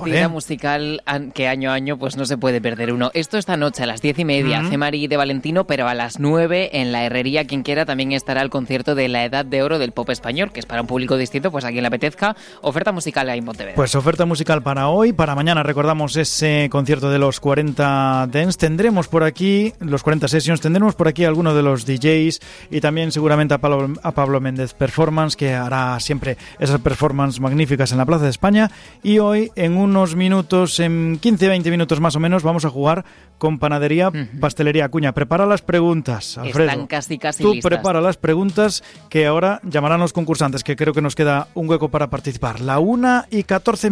Cita musical que año a año pues no se puede perder uno. Esto esta noche a las 10:30, Cemari de Valentino, pero a las 9 en la Herrería, quien quiera, también estará el concierto de la Edad de Oro del Pop Español, que es para un público distinto, pues a quien le apetezca. Oferta musical ahí en Pontevedra. Pues oferta musical para hoy, para mañana recordamos ese concierto de los 40 Dance. Tendremos por aquí los 40 Sessions, tendremos por aquí a alguno de los DJs y también seguramente a Pablo Méndez Performance, que hará siempre esas performances magníficas en la Plaza de España. Y hoy, en unos minutos, en 15-20 minutos más o menos, vamos a jugar con Panadería Pastelería Acuña. Prepara las preguntas, Alfredo. Están casi Tú listas. prepara las preguntas que ahora llamarán los concursantes, que creo que nos queda un hueco para participar. La 1:14.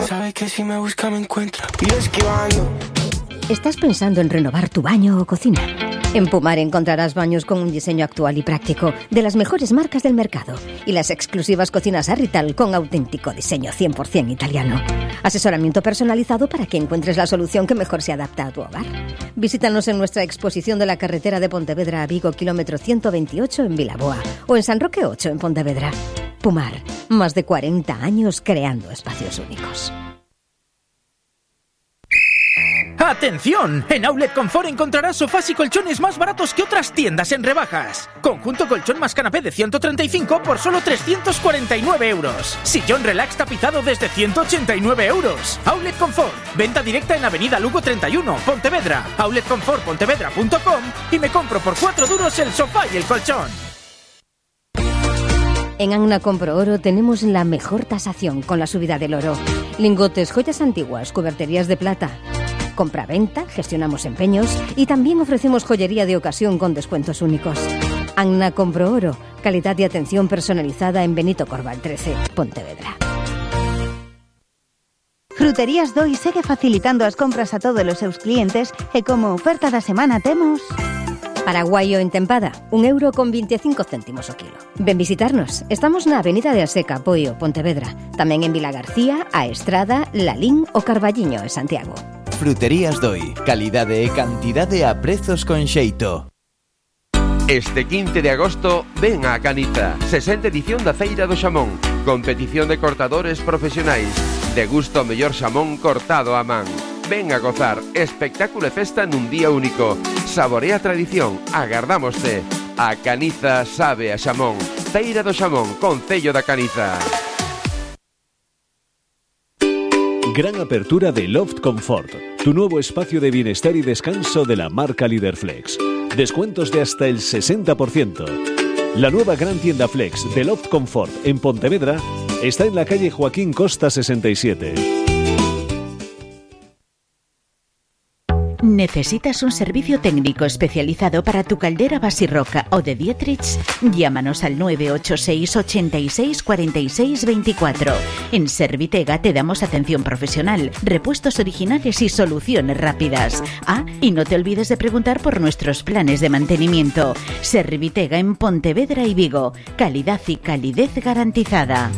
Sabes que si me busca me encuentra. Y esquivando. ¿Estás pensando en renovar tu baño o cocina? En Pumar encontrarás baños con un diseño actual y práctico, de las mejores marcas del mercado, y las exclusivas cocinas Arrital con auténtico diseño 100% italiano. Asesoramiento personalizado para que encuentres la solución que mejor se adapta a tu hogar. Visítanos en nuestra exposición de la carretera de Pontevedra a Vigo, kilómetro 128 en Vilaboa, o en San Roque 8 en Pontevedra. Pumar, más de 40 años creando espacios únicos. ¡Atención! En Outlet Confort encontrarás sofás y colchones más baratos que otras tiendas en rebajas. Conjunto colchón más canapé de 135 por solo 349 euros. Sillón relax tapizado desde 189 euros. Outlet Confort. Venta directa en Avenida Lugo 31, Pontevedra. outletconfortpontevedra.com y me compro por 4 duros el sofá y el colchón. En Agna Compro Oro tenemos la mejor tasación con la subida del oro. Lingotes, joyas antiguas, cuberterías de plata. Compra-venta, gestionamos empeños y también ofrecemos joyería de ocasión con descuentos únicos. Agna Compro Oro, calidad y atención personalizada en Benito Corval 13, Pontevedra. Fruterías Doi segue facilitando as compras a todos os seus clientes e como oferta da semana temos... Paraguayo en tempada, €1,25 o kilo. Ven visitarnos. Estamos na Avenida de Aseca, Poio, Pontevedra. Tamén en Vila García, A Estrada, Lalín o Carballiño en Santiago. Fruterías Doi, calidade e cantidade a prezos con xeito. Este 15 de agosto ven a Caniza, 60ª edición da Feira do Xamón, competición de cortadores profesionais, degusta o mellor xamón cortado a man. Ven a gozar, espectáculo e festa nun día único. Saborea a tradición, agardámoste. A Caniza sabe a xamón. Feira do Xamón, Concello da Caniza. Gran apertura de Loft Comfort, tu nuevo espacio de bienestar y descanso de la marca Líder Flex. Descuentos de hasta el 60%. La nueva gran tienda Flex de Loft Comfort en Pontevedra está en la calle Joaquín Costa 67. ¿Necesitas un servicio técnico especializado para tu caldera Basirroca o de Dietrich? Llámanos al 986 86 46 24. En Servitega te damos atención profesional, repuestos originales y soluciones rápidas. Y no te olvides de preguntar por nuestros planes de mantenimiento. Servitega en Pontevedra y Vigo. Calidad y calidez garantizada.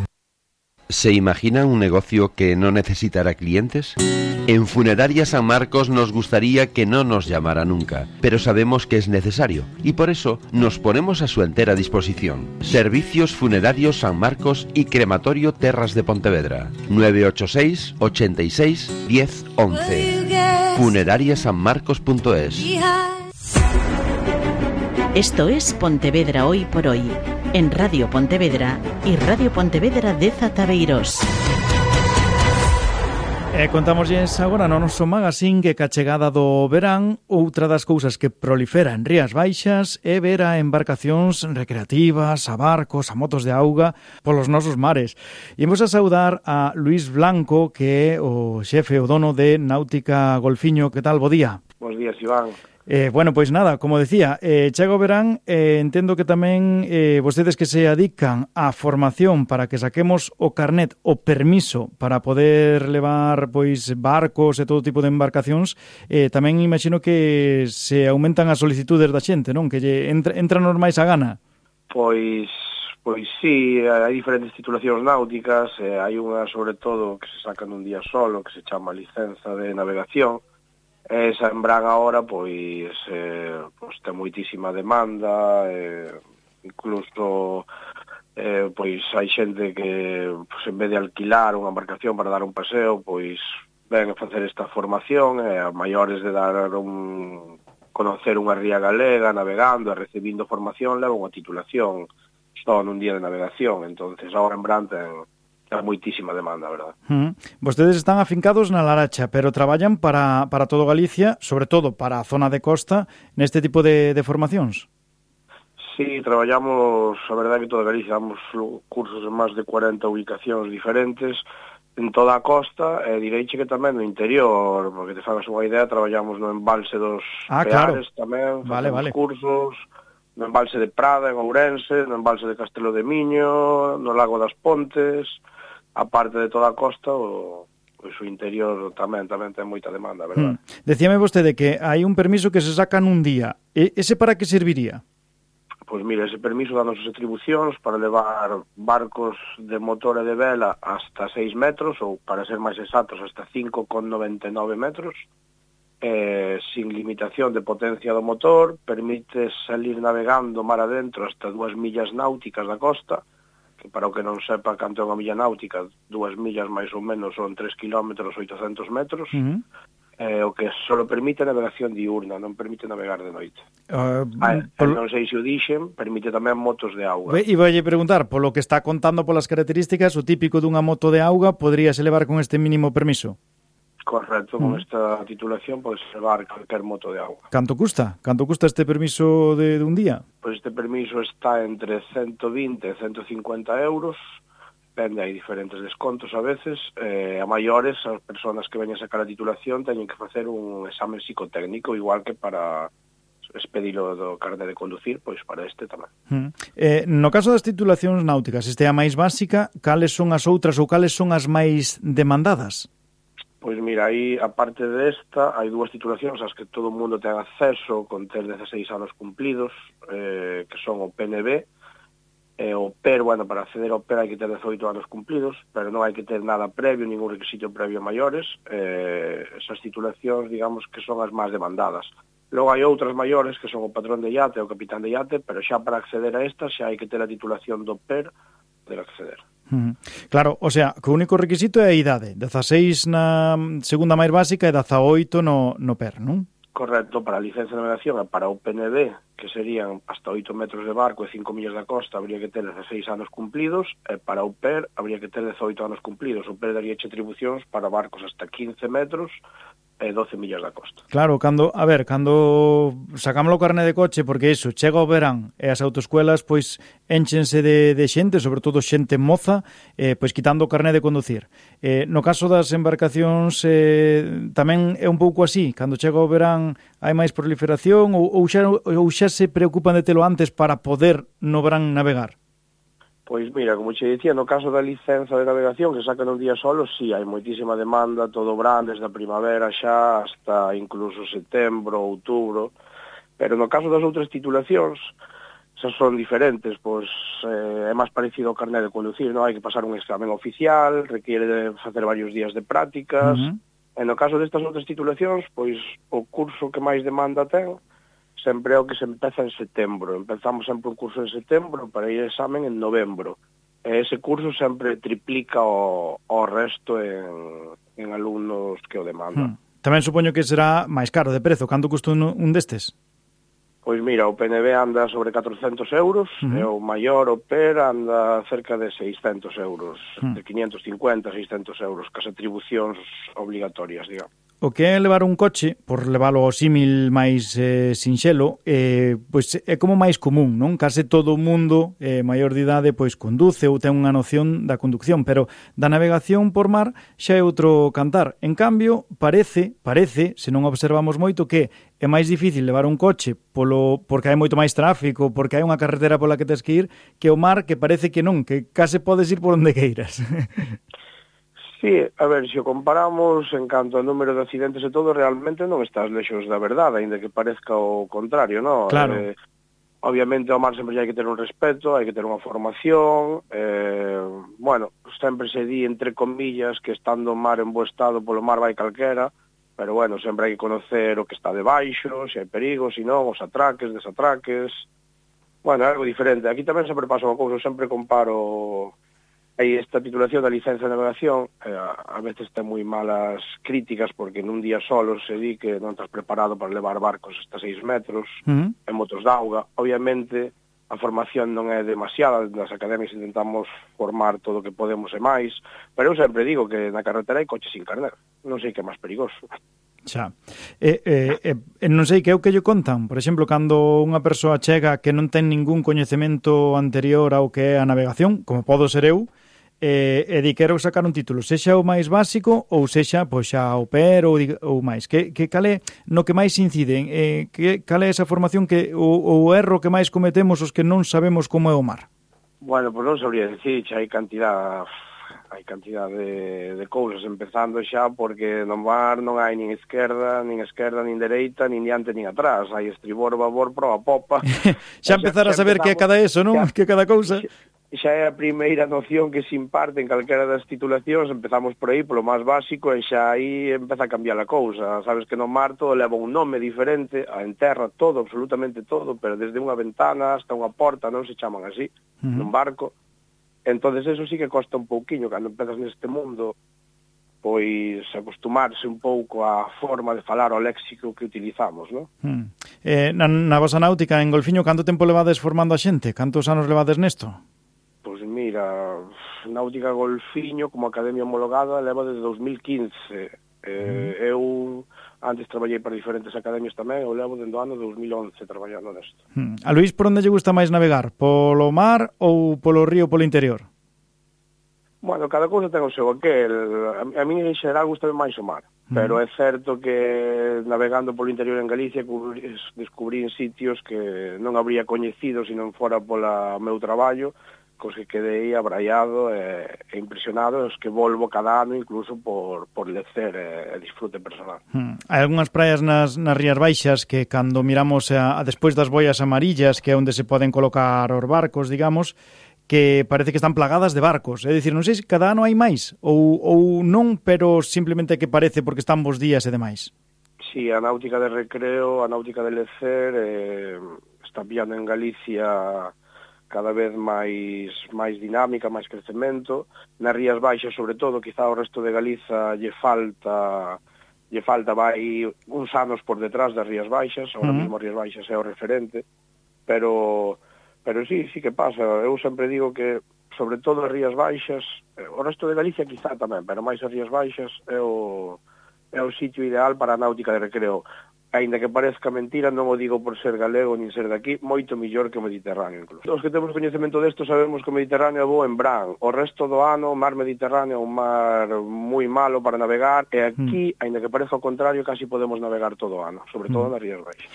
¿Se imagina un negocio que no necesitará clientes? En Funeraria San Marcos nos gustaría que no nos llamara nunca, pero sabemos que es necesario y por eso nos ponemos a su entera disposición. Servicios Funerarios San Marcos y Crematorio Terras de Pontevedra. 986 86 10 11. Funerariasanmarcos.es. Esto es Pontevedra Hoy por Hoy, en Radio Pontevedra y Radio Pontevedra de Zataveiros. Contámoslles agora no noso magazine que ca chegada do verán outra das cousas que prolifera en Rías Baixas é ver a embarcacións recreativas, a barcos, a motos de auga polos nosos mares. E imos a saudar a Luís Blanco, que é o xefe, o dono de Náutica Golfiño. Que tal? Bo día. Bos días, Iván. Bueno, pois nada, como decía, chega o verán, entendo que tamén vostedes que se adican á formación para que saquemos o carnet, o permiso para poder levar pois barcos e todo tipo de embarcacións, tamén imagino que se aumentan as solicitudes da xente, non? Que lle entran os máis a gana. Pois sí, hai diferentes titulacións náuticas, hai unha sobre todo que se sacan un día solo, que se chama licenza de navegación. Esa en Bran agora, pois ten moitísima demanda, incluso pois hai xente que pois, en vez de alquilar unha embarcación para dar un paseo, pois ven a facer esta formación, a maiores de dar conocer unha ría galega, navegando e recibindo formación, leva unha titulación só nun día de navegación. Entonces agora en Bran ten moitísima demanda, verdad? Vostedes están afincados na Laracha, pero traballan para todo Galicia, sobre todo para a zona de costa, neste tipo de formacións? Sí, traballamos, a verdade que toda Galicia, damos cursos en máis de 40 ubicacións diferentes, en toda a costa, e direiche que tamén no interior, porque te fagas unha idea, traballamos no embalse dos Peares tamén, facemos cursos, no embalse de Prada, en Ourense, no embalse de Castelo de Miño, no Lago das Pontes, a parte de toda a costa, o interior tamén ten moita demanda, verdad? Decíame vostede que hai un permiso que se saca nun día. Ese para que serviría? Pois mira, ese permiso danos as atribucións para levar barcos de motor e de vela hasta 6 metros, ou para ser máis exactos, hasta 5,99 metros, sin limitación de potencia do motor, permite salir navegando mar adentro hasta 2 millas náuticas da costa, que para o que non sepa canto é unha milla náutica, 2 millas máis ou menos son 3 kilómetros 800 metros, o que só permite navegación diurna, non permite navegar de noite. Non sei se o dixen, permite tamén motos de auga. E vai preguntar, polo que está contando polas características, o típico dunha moto de auga podríase levar con este mínimo permiso? Correcto, con esta titulación podes levar calquer moto de auga. Canto custa? Canto custa este permiso de un día? Pois este permiso está entre 120 e 150 euros, depende, hai diferentes descontos a veces, a maiores, as persoas que veñen a sacar a titulación teñen que facer un examen psicotécnico, igual que para expedilo do carné de conducir, pois para este tamén. No caso das titulacións náuticas, este é a máis básica, cales son as outras ou cales son as máis demandadas? Pois mira, aí, aparte desta, hai dúas titulacións ás que todo o mundo ten acceso con ter 16 anos cumplidos, que son o PNB, o PER, bueno, para acceder ao PER hai que ter 18 anos cumplidos, pero non hai que ter nada previo, ningún requisito previo maiores. Esas titulacións, digamos, que son as máis demandadas. Logo hai outras maiores, que son o patrón de iate ou o capitán de iate, pero xa para acceder a estas xa hai que ter a titulación do PER de acceder. Claro, o sea, que o único requisito é a idade, 16 na segunda máis básica e 18 no PER, non? Correcto, para a licencia de navegación e para o PNB, que serían hasta 8 metros de barco e 5 millas da costa, habría que ter 16 anos cumplidos, e para o PER habría que ter 18 anos cumplidos. O PER daría atribucións para barcos hasta 15 metros e 12 millas da costa. Claro, cando sacamos o carné de coche, porque iso, chega o verán e as autoescuelas pois énchense de xente, sobre todo xente moza, pois quitando o carné de conducir. No caso das embarcacións tamén é un pouco así, cando chega o verán hai máis proliferación ou xa se preocupan de telo antes para poder no verán navegar? Pois mira, como che dicía, no caso da licenza de navegación que sacan un día solo, sí, hai moitísima demanda, todo brand, desde a primavera xa hasta incluso setembro, outubro, pero no caso das outras titulacións, esas son diferentes, pois é máis parecido ao carné de conducir, non hai que pasar un examen oficial, requiere de facer varios días de prácticas, e no caso destas outras titulacións, pois o curso que máis demanda ten, sempre é o que se empeza en setembro. Empezamos sempre un curso en setembro para ir a examen en novembro. E ese curso sempre triplica o resto en alumnos que o demandan. Tamén supoño que será máis caro de prezo. Canto custa un destes? Pois mira, o PNB anda sobre 400 euros, e o maior, o PER, anda cerca de 600 euros, de 550 a 600 euros, cas atribucións obligatorias, digamos. O que é levar un coche, por leválo ao símil máis sinxelo, pois é como máis común, non? Case todo o mundo maior de idade pois conduce ou ten unha noción da conducción, pero da navegación por mar xa é outro cantar. En cambio, parece, se non observamos moito, que é máis difícil levar un coche porque hai moito máis tráfico, porque hai unha carretera pola que tes que ir, que o mar, que parece que non, que case podes ir por onde queiras. Sí, a ver, se o comparamos en canto ao número de accidentes e todo, realmente non estás lexos da verdade, aínda que parezca o contrario, non? Claro. Obviamente ao mar sempre hai que ter un respeto, hai que ter unha formación, bueno, sempre se di entre comillas que estando o mar en bo estado polo mar vai calquera, pero bueno, sempre hai que conocer o que está debaixo, se hai perigo, se non, os atraques, desatraques, Bueno, algo diferente. Aquí tamén sempre pasa unha cousa, eu sempre comparo esta titulación da licencia de navegación, a veces ten moi malas críticas porque nun día solo se di que non estás preparado para levar barcos hasta 6 metros, en motos de auga. Obviamente, a formación non é demasiada, nas academias intentamos formar todo o que podemos e máis, pero eu sempre digo que na carretera hai coches sin carnet, non sei que é máis perigoso. Xa. Non sei que é o que lle contan. Por exemplo, cando unha persoa chega que non ten ningún coñecemento anterior ao que é a navegación, como podo ser eu, e di quero sacar un título, sexa o máis básico ou sexa pois xa au pair ou máis. Que cal é no que máis inciden? Cal é esa formación que o erro que máis cometemos os que non sabemos como é o mar? Bueno, pois non sabría dicir, xa hai cantidad de cousas, empezando xa porque no mar non hai nin esquerda, nin dereita, nin diante, nin atrás. Hai estribor, babor, proa, popa. Xa empezar a saber que é cada eso, non? Que cada cousa. Xa é a primeira noción que se imparte en calquera das titulacións, empezamos por aí, polo máis básico, e xa aí empeza a cambiar a cousa. Sabes que no mar todo leva un nome diferente, en terra todo, absolutamente todo, pero desde unha ventana hasta unha porta non se chaman así, nun barco. Entonces eso sí que costa un pouquiño, cando empezas neste mundo, pois acostumarse un pouco á forma de falar, ao léxico que utilizamos, non? Na vosa náutica, en Golfiño, canto tempo levades formando a xente? Cantos anos levades nesto? Pois mira, Náutica Golfiño, como academia homologada, leva desde 2015. Eu antes traballei para diferentes academias tamén, eu levo dende o ano 2011 traballando nesto. A Luís, por onde lle gusta máis navegar? Polo mar ou polo río ou polo interior? Bueno, cada cousa ten o seu aquel. A mí, en xeral, gusta máis o mar. Pero é certo que navegando polo interior en Galicia descubrí sitios que non habría coñecido se non fora pola meu traballo, cos que quedei abraiado e impresionado, os que volvo cada ano incluso por lecer e disfrute personal. Hai algunhas praias nas Rías Baixas que cando miramos a despois das boias amarillas, que é onde se poden colocar os barcos, digamos, que parece que están plagadas de barcos. É dicir, non sei se cada ano hai máis ou non, pero simplemente que parece porque están bons días e demais. Sí, a náutica de recreo, a náutica de lecer está pillando en Galicia cada vez máis dinámica, máis crecemento. Nas Rías Baixas, sobre todo, quizá o resto de Galiza lle falta vai uns anos por detrás das Rías Baixas, ahora mesmo as Rías Baixas é o referente, pero sí que pasa. Eu sempre digo que, sobre todo as Rías Baixas, o resto de Galicia quizá tamén, pero máis as Rías Baixas é o sitio ideal para a náutica de recreo. Aínda que parezca mentira, non o digo por ser galego nin ser daqui, moito millor que o Mediterráneo incluso. Os que temos coñecemento desto sabemos que o Mediterráneo é bo en verán. O resto do ano, o mar Mediterráneo é un mar moi malo para navegar, e aquí, aínda que parezca o contrario, casi podemos navegar todo o ano, sobre todo nas Rías Baixas.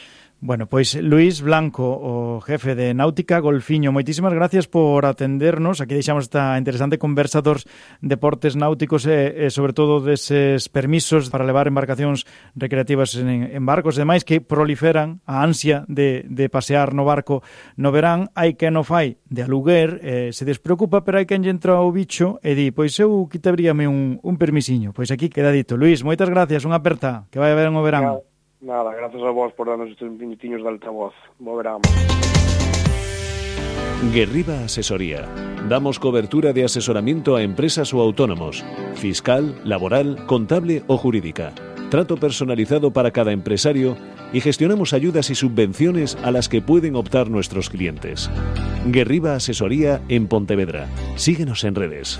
Bueno, pois Luís Blanco, o jefe de Náutica Golfiño, moitísimas gracias por atendernos. Aquí deixamos esta interesante conversa dos deportes náuticos e sobre todo deses permisos para levar embarcacións recreativas en barcos e demais que proliferan a ansia de pasear no barco no verán. Hai quen o fai de aluguer, se despreocupa, pero hai quen lle entra o bicho e di, pois eu quitaríame un permisiño. Pois aquí queda dito. Luís, moitas gracias, unha aperta, que vai haber en o verán. Nada, gracias a vos por darnos estes minutiños de altavoz. Bo verán. Guerriba Asesoría. Damos cobertura de asesoramiento a empresas o autónomos, fiscal, laboral, contable o jurídica. Trato personalizado para cada empresario y gestionamos ayudas y subvenciones a las que pueden optar nuestros clientes. Guerriba Asesoría en Pontevedra. Síguenos en redes.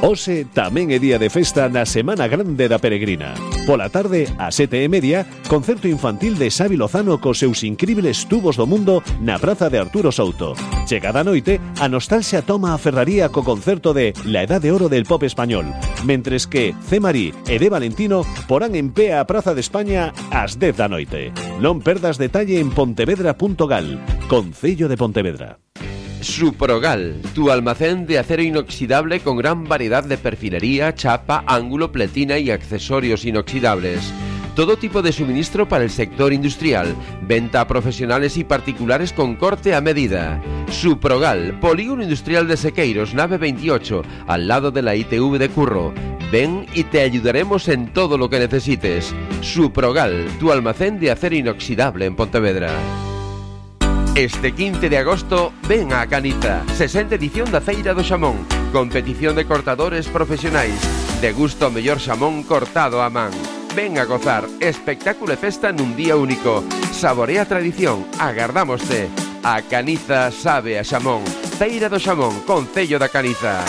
Hoxe tamén é día de festa na Semana Grande da Peregrina. Pola tarde, a 7:30, concerto infantil de Xavi Lozano cos seus incribles tubos do mundo na Praza de Arturo Souto. Chegada a noite, a nostalgia toma a ferraría co concerto de La Edad de Oro del Pop Español, mentres que C. Marí e de Valentino porán en pé a Praza de España ás 10 da noite. Non perdas detalle en pontevedra.gal, Concello de Pontevedra. Suprogal, tu almacén de acero inoxidable con gran variedad de perfilería, chapa, ángulo, pletina y accesorios inoxidables. Todo tipo de suministro para el sector industrial, venta a profesionales y particulares con corte a medida. Suprogal, Polígono Industrial de Sequeiros, nave 28, al lado de la ITV de Curro. Ven y te ayudaremos en todo lo que necesites. Suprogal, tu almacén de acero inoxidable en Pontevedra. Este 15 de agosto, ven a Caniza, 60ª edición da Feira do Xamón, competición de cortadores profesionais, degusta o mellor xamón cortado a man. Ven a gozar, espectáculo e festa nun día único. Saborea a tradición, agardámoste. A Caniza sabe a xamón. Feira do Xamón, Concello da Caniza.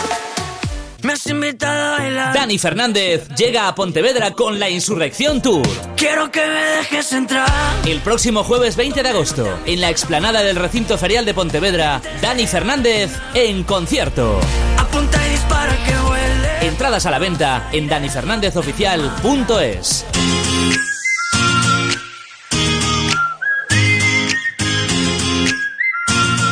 Me has invitado a bailar. Dani Fernández llega a Pontevedra con la Insurrección Tour. Quiero que me dejes entrar. El próximo jueves 20 de agosto, en la explanada del recinto ferial de Pontevedra, Dani Fernández en concierto. Apunta y dispara que vuele. Entradas a la venta en danifernández.oficial.es.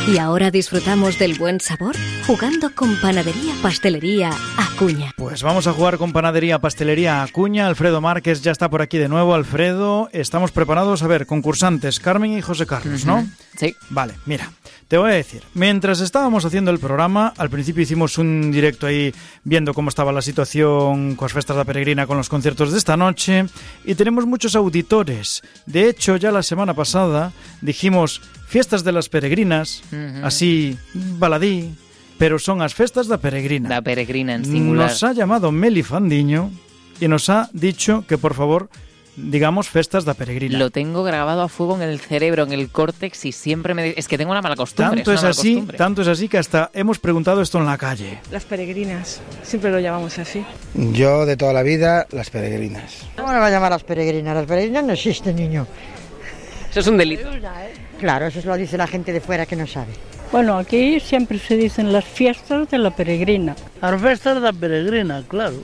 Y ahora disfrutamos del buen sabor jugando con Panadería Pastelería Acuña. Pues vamos a jugar con Panadería Pastelería Acuña. Alfredo Márquez ya está por aquí de nuevo. Alfredo, estamos preparados. A ver, concursantes, Carmen y José Carlos, ¿no? Sí. Vale, mira, te voy a decir. Mientras estábamos haciendo el programa, al principio hicimos un directo ahí viendo cómo estaba la situación con las festas da Peregrina, con los conciertos de esta noche, y tenemos muchos auditores. De hecho, ya la semana pasada dijimos fiestas de las peregrinas, así, baladí, pero son las festas da Peregrina. Da Peregrina en singular. Nos ha llamado Meli Fandiño y nos ha dicho que por favor digamos festas da Peregrina. Lo tengo grabado a fuego en el cerebro, en el córtex, y siempre me... Es que tengo una mala costumbre. Tanto es así que hasta hemos preguntado esto en la calle. Las peregrinas, siempre lo llamamos así. Yo de toda la vida, las peregrinas. ¿Cómo le va a llamar las peregrinas? Las peregrinas no existen, niño. Eso es un delito. Claro, eso lo dice la gente de fuera que no sabe. Bueno, aquí siempre se dicen las fiestas de la peregrina. Las fiestas de la peregrina, claro.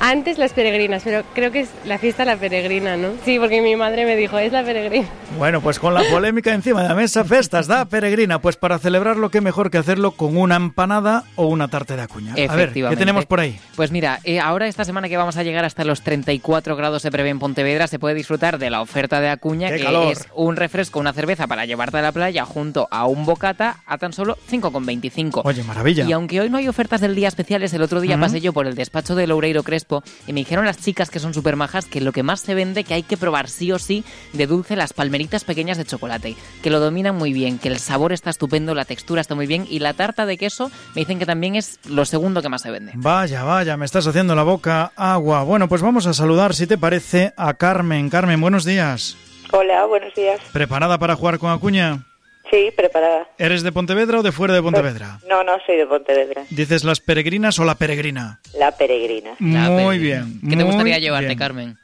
Antes las peregrinas, pero creo que es la fiesta la peregrina, ¿no? Sí, porque mi madre me dijo, es la peregrina. Bueno, pues con la polémica encima de la mesa, festas da Peregrina, pues para celebrarlo, qué mejor que hacerlo con una empanada o una tarta de Acuña. A ver, ¿qué tenemos por ahí? Pues mira, ahora esta semana que vamos a llegar hasta los 34 grados se prevé en Pontevedra, se puede disfrutar de la oferta de Acuña, que es un refresco, una cerveza para llevarte a la playa junto a un bocata a tan solo 5,25. Oye, maravilla. Y aunque hoy no hay ofertas del día especiales, el otro día pasé yo por el despacho de Loureiro Crespo y me dijeron las chicas, que son súper majas, que lo que más se vende, que hay que probar sí o sí de dulce, las palmeritas pequeñas de chocolate, que lo dominan muy bien, que el sabor está estupendo, la textura está muy bien, y la tarta de queso me dicen que también es lo segundo que más se vende. Vaya, me estás haciendo la boca agua. Bueno, pues vamos a saludar, si te parece, a Carmen. Carmen, buenos días. Hola, buenos días. ¿Preparada para jugar con Acuña? Sí, preparada. ¿Eres de Pontevedra o de fuera de Pontevedra? No, soy de Pontevedra. ¿Dices las peregrinas o la peregrina? La peregrina. Muy bien. ¿Qué te gustaría llevarte, Carmen?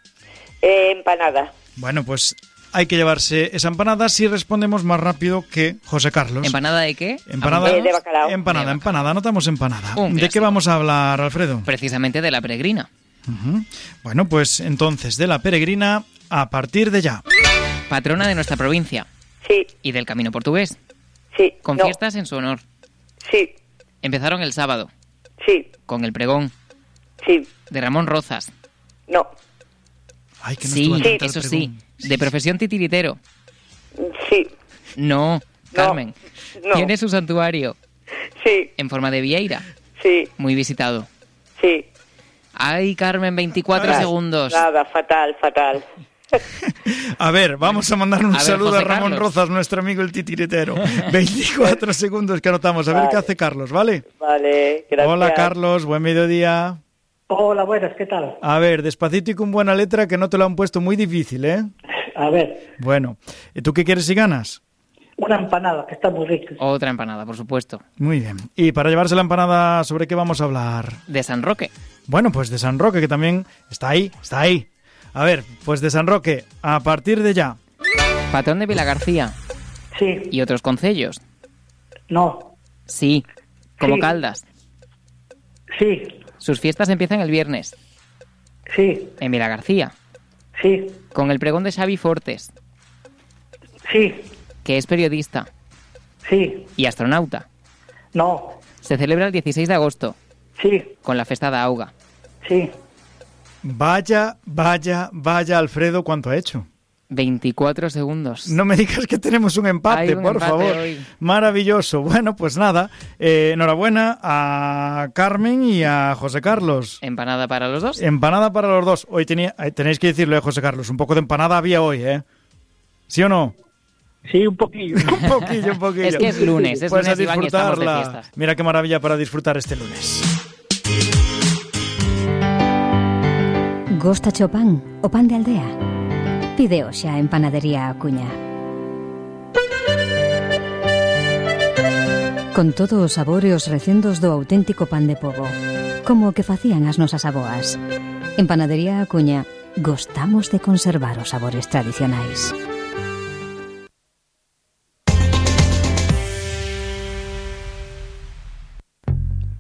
Empanada. Bueno, pues hay que llevarse esa empanada si respondemos más rápido que José Carlos. ¿Empanada de qué? Empanada de bacalao. Empanada, anotamos empanada. ¿De qué vamos a hablar, Alfredo? Precisamente de la peregrina. Bueno, pues entonces, de la peregrina a partir de ya. Patrona de nuestra provincia. Sí. ¿Y del Camino Portugués? Sí. ¿Con fiestas en su honor? Sí. ¿Empezaron el sábado? Sí. ¿Con el pregón? Sí. ¿De Ramón Rozas? No. Ay, que no sí, eso sí. ¿De profesión titiritero? Sí. No, Carmen. No. ¿Tiene su santuario? Sí. ¿En forma de vieira? Sí. ¿Muy visitado? Sí. Ay, Carmen, 24 segundos. Nada, fatal. A ver, vamos a mandar un saludo José a Ramón Carlos Rozas, nuestro amigo el titiritero. 24 segundos que anotamos. A ver qué hace Carlos, ¿vale? Vale, gracias. Hola, Carlos, buen mediodía. Hola, buenas, ¿qué tal? A ver, despacito y con buena letra, que no te lo han puesto muy difícil, ¿eh? A ver. Bueno, ¿y tú qué quieres si ganas? Una empanada, que está muy rica. Otra empanada, por supuesto. Muy bien. Y para llevarse la empanada, ¿sobre qué vamos a hablar? De San Roque. Bueno, pues de San Roque, que también está ahí. A ver, pues de San Roque, a partir de ya. Patrón de Vilagarcía. Sí. ¿Y otros concellos? No. Sí. ¿Como Sí. Caldas? Sí. Sus fiestas empiezan el viernes. Sí. ¿En Vilagarcía? Sí. ¿Con el pregón de Xavi Fortes? Sí. ¿Que es periodista? Sí. ¿Y astronauta? No. Se celebra el 16 de agosto. Sí. Con la festa da Auga. Sí. Vaya, Alfredo, ¿cuánto ha hecho? 24 segundos. No me digas que tenemos un empate, por favor. Hoy. Maravilloso. Bueno, pues nada, enhorabuena a Carmen y a José Carlos. ¿Empanada para los dos? Empanada para los dos. Hoy tenéis que decirle a José Carlos, un poco de empanada había hoy, ¿eh? ¿Sí o no? Sí, un poquillo. Un poquillo. Es que es lunes, Pues a Iván, y estamos de disfrutarla. fiestas. Mira qué maravilla para disfrutar este lunes. Gosta o pan de aldea. Pide xa en Panadería Acuña. Con todos os sabores e os recendos do auténtico pan de pobo, como o que facían as nosas aboas. En Panadería Acuña gostamos de conservar os sabores tradicionais.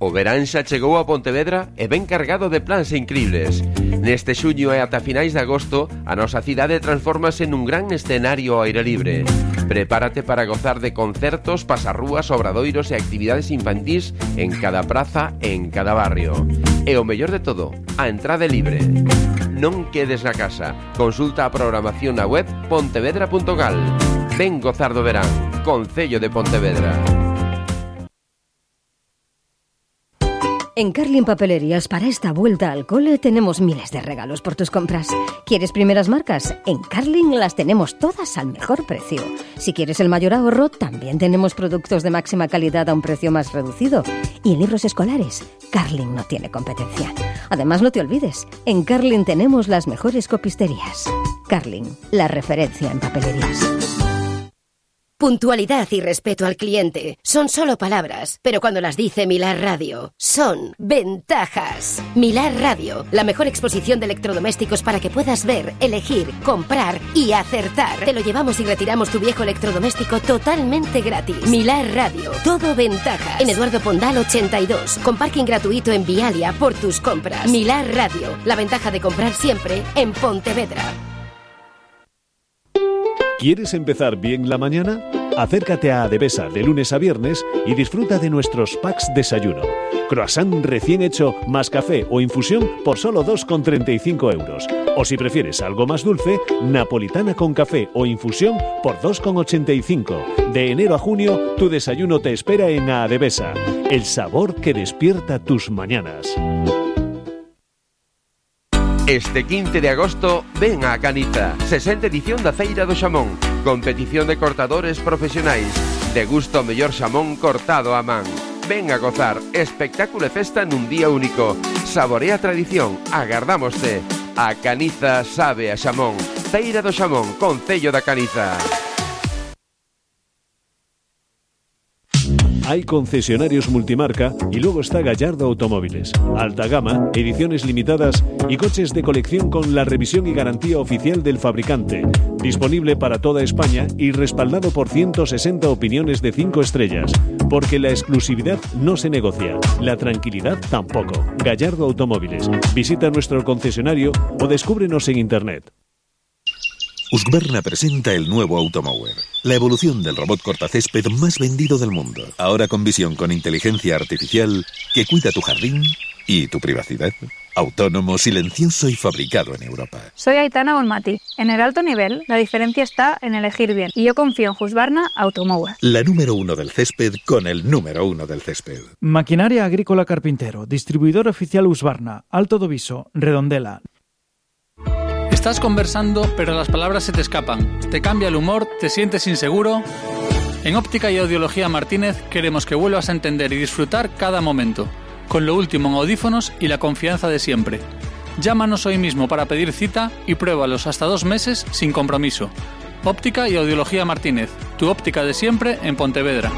O verán xa chegou a Pontevedra e ben cargado de plans incribles. Neste xuño e ata finais de agosto, a nosa cidade transfórmase nun gran escenario ao aire libre. Prepárate para gozar de concertos, pasarrúas, obradoiros e actividades infantís en cada praza e en cada barrio. E o mellor de todo, a entrada é libre. Non quedes na casa. Consulta a programación na web pontevedra.gal. Ven gozar do verán. Concello de Pontevedra. En Carlin Papelerías, para esta vuelta al cole, tenemos miles de regalos por tus compras. ¿Quieres primeras marcas? En Carlin las tenemos todas al mejor precio. Si quieres el mayor ahorro, también tenemos productos de máxima calidad a un precio más reducido. Y en libros escolares, Carlin no tiene competencia. Además, no te olvides, en Carlin tenemos las mejores copisterías. Carlin, la referencia en papelerías. Puntualidad y respeto al cliente son solo palabras, pero cuando las dice Milar Radio, son ventajas. Milar Radio, la mejor exposición de electrodomésticos para que puedas ver, elegir, comprar y acertar. Te lo llevamos y retiramos tu viejo electrodoméstico totalmente gratis. Milar Radio, todo ventajas. En Eduardo Pondal 82, con parking gratuito en Vialia por tus compras. Milar Radio, la ventaja de comprar siempre en Pontevedra. ¿Quieres empezar bien la mañana? Acércate a Adevesa de lunes a viernes y disfruta de nuestros packs desayuno. Croissant recién hecho más café o infusión por solo 2,35 euros. O si prefieres algo más dulce, napolitana con café o infusión por 2,85. De enero a junio, tu desayuno te espera en Adevesa. El sabor que despierta tus mañanas. Este 15 de agosto, ven a Caniza, 60ª edición da Feira do Xamón. Competición de cortadores profesionais. Degusta o mellor xamón cortado a man. Ven a gozar, espectáculo e festa nun día único. Saborea a tradición, agardámoste. A Caniza sabe a xamón. Feira do Xamón, Concello da Caniza. Hay concesionarios multimarca y luego está Gallardo Automóviles. Alta gama, ediciones limitadas y coches de colección con la revisión y garantía oficial del fabricante. Disponible para toda España y respaldado por 160 opiniones de 5 estrellas. Porque la exclusividad no se negocia, la tranquilidad tampoco. Gallardo Automóviles. Visita nuestro concesionario o descúbrenos en internet. Husqvarna presenta el nuevo Automower, la evolución del robot cortacésped más vendido del mundo. Ahora con visión con inteligencia artificial que cuida tu jardín y tu privacidad. Autónomo, silencioso y fabricado en Europa. Soy Aitana Bonmati. En el alto nivel, la diferencia está en elegir bien. Y yo confío en Husqvarna Automower. La número 1 del césped con el número 1 del césped. Maquinaria Agrícola Carpintero, distribuidor oficial Husqvarna, Alto do Viso, Redondela. Estás conversando, pero las palabras se te escapan. Te cambia el humor, te sientes inseguro. En Óptica y Audiología Martínez queremos que vuelvas a entender y disfrutar cada momento, con lo último en audífonos y la confianza de siempre. Llámanos hoy mismo para pedir cita y pruébalos hasta 2 meses sin compromiso. Óptica y Audiología Martínez, tu óptica de siempre en Pontevedra.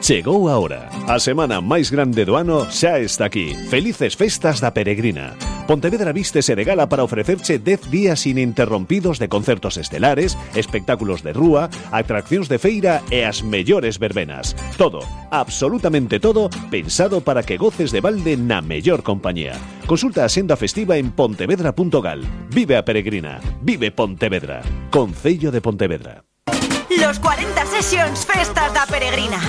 Chegou a hora. A semana máis grande do ano xa está aquí. Felices festas da Peregrina. Pontevedra vístese de gala para ofrecerche 10 días ininterrompidos de concertos estelares, espectáculos de rúa, atraccións de feira e as mellores verbenas. Todo, absolutamente todo, pensado para que goces de balde na mellor compañía. Consulta a senda festiva en pontevedra.gal. Vive a Peregrina. Vive Pontevedra. Concello de Pontevedra. Los 40 Sessions Festas da Peregrina.